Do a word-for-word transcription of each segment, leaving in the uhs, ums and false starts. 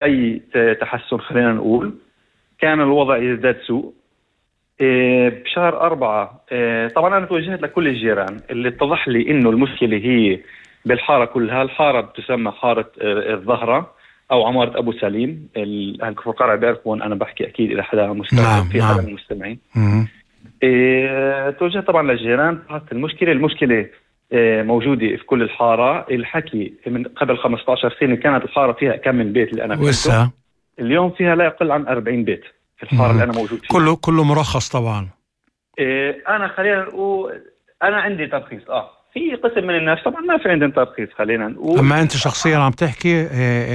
أي تحسن خلينا نقول. كان الوضع يزداد سوء. بشهر أربعة طبعا أنا توجهت لكل الجيران اللي اتضح لي إنه المشكلة هي بالحارة كلها. الحارة بتسمى حارة الظهرة أو عمارة أبو سليم. أهل كفر قرع بيعرفون أنا بحكي أكيد إذا حدا مستمع نعم في نعم. حدا من المستمعين. إيه توجهت طبعا للجيران. المشكلة المشكلة إيه موجودة في كل الحارة. الحكي من قبل خمسة عشر سنة كانت الحارة فيها كم من بيت اللي أنا فهمته. اليوم فيها لا يقل عن أربعين بيت في الحارة مم. اللي أنا موجود فيها. كله كله مرخص طبعا. إيه أنا خلينا نقول أنا عندي ترخيص. آه في قسم من الناس طبعا ما في عندهم ترخيص خلينا نقول. أما أنت شخصيا عم تحكي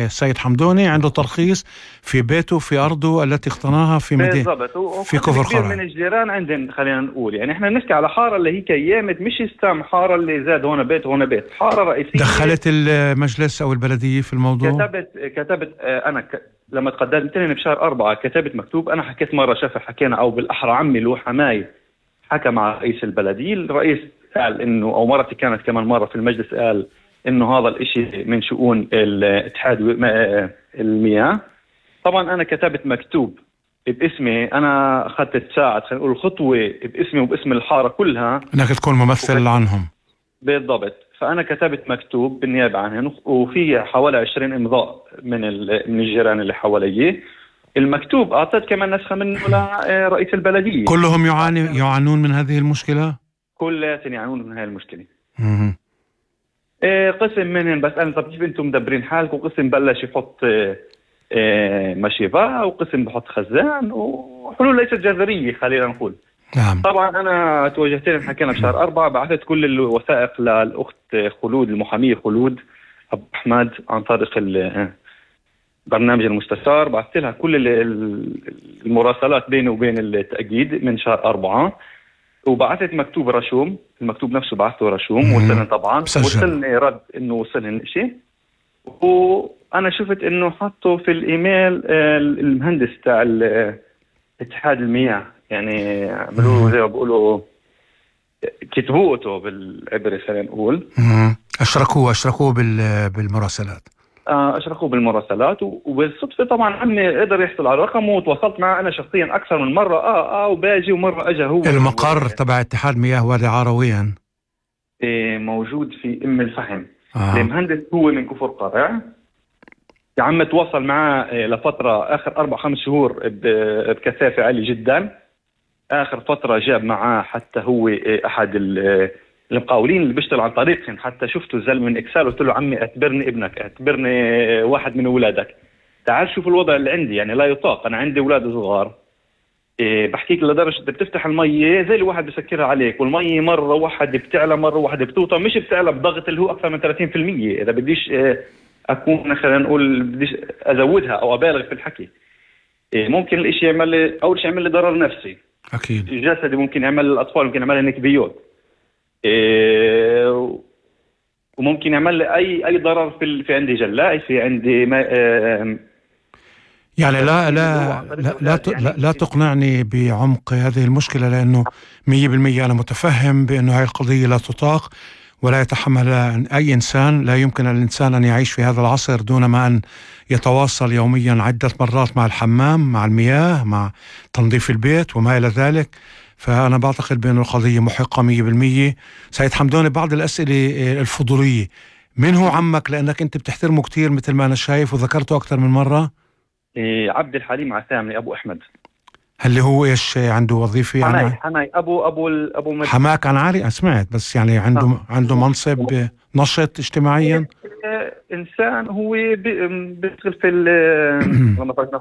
السيد حمدوني عنده ترخيص في بيته في أرضه التي اقتناها في مدينة في كفر قرع. من الجيران عندهم خلينا نقول يعني إحنا نحكي على حارة اللي هي كيامت مش استام حارة اللي زاد هون بيت هون بيت. حارة رئيسية. دخلت المجلس أو البلدية في الموضوع؟ كتبت كتبت أنا ك... لما تقدمت لي بشهر أربعة كتبت مكتوب. أنا حكيت مرة شافع حكينا أو بالأحرى عمي له حماي حكى مع رئيس البلدية. الرئيس قال إنه أو مرتي كانت كمان مرة في المجلس قال إنه هذا الإشي من شؤون الاتحاد المياه. طبعا أنا كتبت مكتوب باسمي. أنا أخذت تساعد خلينا نقول خطوة باسمي وباسم الحارة كلها إنك تكون ممثل وكت... عنهم. بالضبط. فأنا كتبت مكتوب بالنيابة عنهم وفي حوالي عشرين إمضاء من من الجيران اللي حواليه. المكتوب أعطيت كمان نسخة منه لرئيس البلدية. كلهم يعاني يعانون من هذه المشكلة؟ كلهم يعانون من هذه المشكلة. مم. إيه قسم منهم بس أنا طب كيف أنتم مدبرين حالكم. قسم بلش يحط إيه مشيفة وقسم بحط خزان وحلول ليست جذرية خلينا نقول. نعم. طبعا أنا توجهت لهم حكينا بشهر أربعة بعثت كل الوثائق للأخت خلود المحامية خلود أبو أحمد عن طريق برنامج المستشار. بعثت لها كل المراسلات بيني وبين التأكيد من شهر أربعة وبعثت مكتوب رشوم. المكتوب نفسه بعثته رشوم وصلني طبعا وصلني رد إنه وصلني الشيء. وأنا شفت إنه حطوا في الإيميل المهندس تاع اتحاد المياه يعني عملوا زي ما بيقولوا كتبوته بالعبري خلينا نقول. أشركوه أشركوه بالمراسلات. أشركوه بالمراسلات وبالصدفة طبعا عمي قدر يحصل على رقمه وتواصلت معه أنا شخصيا أكثر من مرة. آه آه وباجي ومرة أجا هو. المقر تبع اتحاد مياه وادي عرويا إيه موجود في أم الفحم. آه. المهندس هو من كفر قرع. يا عم تواصل معه لفترة آخر أربع خمس شهور بكثافة عالية جدا. آخر فترة جاب معاه حتى هو أحد المقاولين اللي بيشتغل عن طريقهم. حتى شفته الزلمة من إكسال قلت له عمي اعتبرني ابنك اعتبرني واحد من أولادك تعال شوف الوضع اللي عندي يعني لا يطاق. أنا عندي أولاد صغار. إيه بحكيك لدرجة بتفتح المية زي الواحد بسكرها عليك والمية مرة واحد بتعلى مرة واحد بتوطى مش بتعلى بضغط اللي هو أكثر من ثلاثين بالمية. إذا بديش أكون خلينا نقول بديش أزودها أو أبالغ في الحكي. إيه ممكن الإشي يعمل لي أول شيء يعمل لي ضرر نفسي أكيد جسدي. ممكن يعمل للأطفال ممكن يعمل لي نكبيوت. إيه وممكن يعمل لي أي أي ضرر في في عندي جلائي في عندي ما آه يعني لا لا لا لا, لا لا تقنعني بعمق هذه المشكلة لأنه مية بالمية أنا متفهم بأنه هاي القضية لا تطاق ولا يتحمل أي إنسان. لا يمكن الإنسان أن يعيش في هذا العصر دون ما أن يتواصل يوميا عدة مرات مع الحمام مع المياه مع تنظيف البيت وما إلى ذلك. فأنا بعتقد بأن القضية محقة مية بالمية. سيد حمدوني بعض الأسئلة الفضولية. من هو عمك لأنك أنت بتحترمه كتير مثل ما أنا شايف وذكرته أكثر من مرة؟ إيه عبد الحليم عثامي أبو أحمد. هل هو إيش عنده وظيفة حماي يعني؟ حماي أبو أبو أبو مد... حماك عن عالي. أنا سمعت بس يعني عنده آه. عنده منصب نشط اجتماعيا. إنسان هو بيشتغل في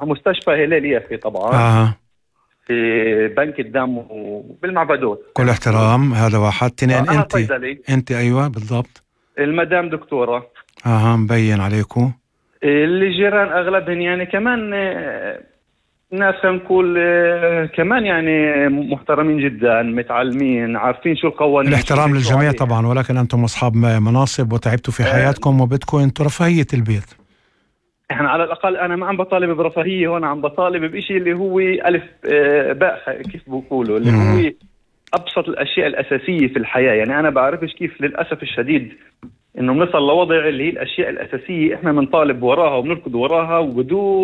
المستشفى هلال يافي طبعا. آه. في بنك الدم وبالمعبدات. كل احترام. هذا واحد. تنين آه أنت أنت أيوة بالضبط. المدام دكتورة. آه مبين عليكم. الجيران أغلبهم يعني كمان ناس خلينا نقول كمان يعني محترمين جدا متعلمين عارفين شو القوانين. الاحترام للجميع طبعا ولكن أنتم أصحاب مناصب وتعبتوا في حياتكم وبدكم أنتم رفاهية البيت. احنا على الأقل أنا ما عم بطالب برفاهية هون عم بطالب بإشي اللي هو ألف باء كيف بقولوا اللي هو أبسط الأشياء الأساسية في الحياة. يعني أنا بعرفش كيف للأسف الشديد انه بنصل لوضع اللي هي الاشياء الاساسيه احنا بنطالب وراها وبنركض وراها وبدون